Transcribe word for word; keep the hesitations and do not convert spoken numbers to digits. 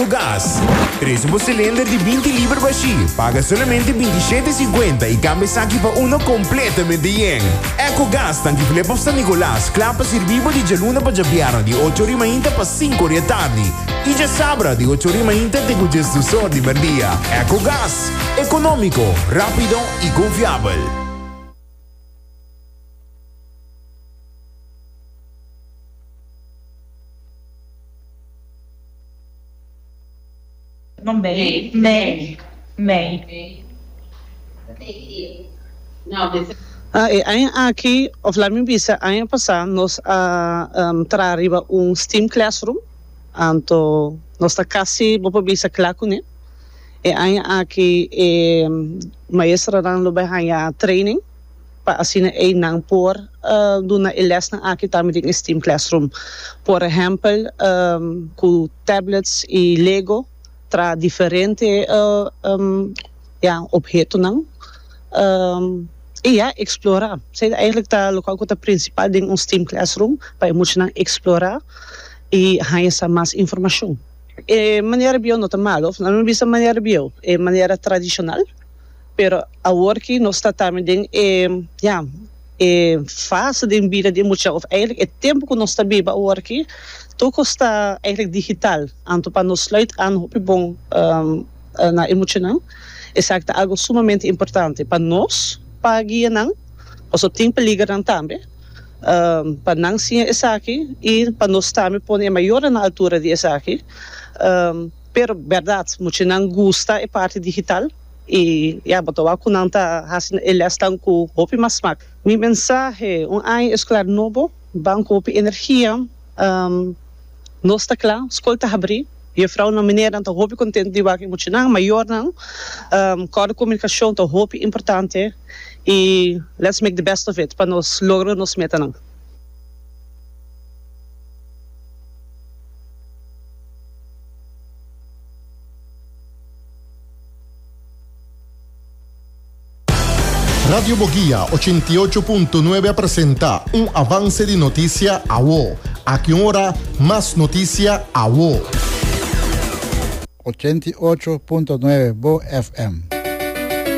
Gas. Trese bo silinder di binti liber bashi. Paga solamente bintishete sinkuenta i kambia esaki pa uno kompletamente yen. Eco Gas, Tanki Flip of San Nicolas, kla pa sirbi bo di djaluna pa djabièrnè di ocho or di mainta pa sinku or di atardi. I djasabra di ocho or di mainta te diesdos or di mèrdia. Eco Gas, ekonómiko, rápido i konfiabel. No, May. May. May. No, this Ah, e aña aki, of laga mi bisa, aña pasá, nos a um, traha riba un STEAM classroom. Anto, nos ta kasi, bo por bisa, kla kuné. E aña aki, e maestronan lo bai haña training pa asina ei nan por uh, duna e lesnan aki tambe den STEAM classroom. Por ehèmpel, um, ku tablets i Lego, traha diferente uh, um, ja, ophetonan. Um, i ja, eksplorá. Esei eigenlijk ta loke ta prinsipal den un STEAM classroom, pa e muchanan eksplorá i haña mas informashon. E manera bieu no ta malu, no ta bisa manera bieu, e manera tradishonal, pero awor ku nos ta tambe den e, ja, e fase di bida di mucha, of eigenlijk e tempu ku nos ta biba awor ku tur ta eigenlijk digital. Anto pa nos sluit aan hopi bon um, na e muchanan. Esaki ta algu sumamente importante pa nos, pa guia nan, paso tin peliger tambe. Um, pa nan siña esaki i pa nos tambe pone e mayornan na altura di esaki. Um, pero berdat, muchanan gusta e parti digital i ja, bo ta wak ku nan ta hasi e lesnan ku hopi mas smak. Mi mensahe, un aña eskolar nobo, ban ku hopi energia, um, nos ta kla, skol ta habrí. Juffrouw meneer ta hopi kontentu di wak muchanan, mayornan. Um, kòrda, komunikashon ta hopi importante i let's make the best of it pa nos logra nos metanan. Radio Boguia ochenta i ocho punto nuebe a presentá un avanse di notisia awo. Aki ora, mas notisia awo. ochenta i ocho punto nuebe Bo F M.